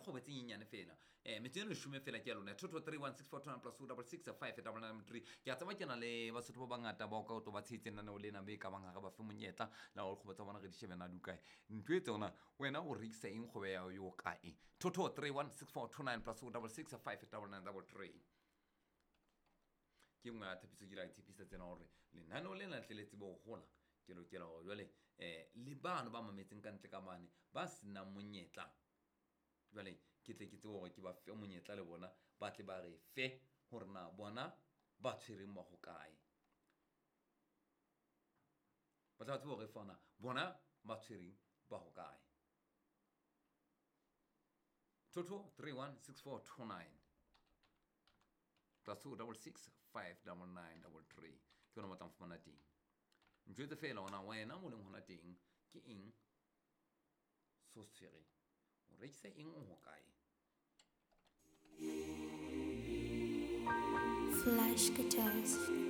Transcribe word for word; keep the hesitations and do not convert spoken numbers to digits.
dikgwebo tse nyenyane fela um metsotso e leshome fela ke ya lona two two three one six four two nine plus two double six five double nine three ke a tseba ke na le basotho ba bangata bao ka o to ba tshehetseng lenaneo lena be e ka bang ga re ba fe monyetla la gore kgwebo tsa bona re di shebe na di kae ntho e tsona wena o rekisa eng kgwebo ya yo kae two two three one six four two nine plus two double six five double nine double three ke nngwe ya tshepiso ke la tshepisa tsena gore lenaneo lena tle le tsebe go gola ke lokela gore jwale um le bano ba mametseng ka ntle ka mane ba senang monyetla jwale ke tle ke tsebe gore ke ba fe monyetla le bona ba tle ba re fe gore na bona ba tshwereng ba go kae ba tla ba tsebe gore fana bona ba tshwereng ba go kae two two three one six four two nine plus two double six five double nine double three ke yona mo tlang fumana teng njwetse fela ona wena mo leng hona teng ke eng so se tshwereng o rekisa eng o ho kae Flash guitars.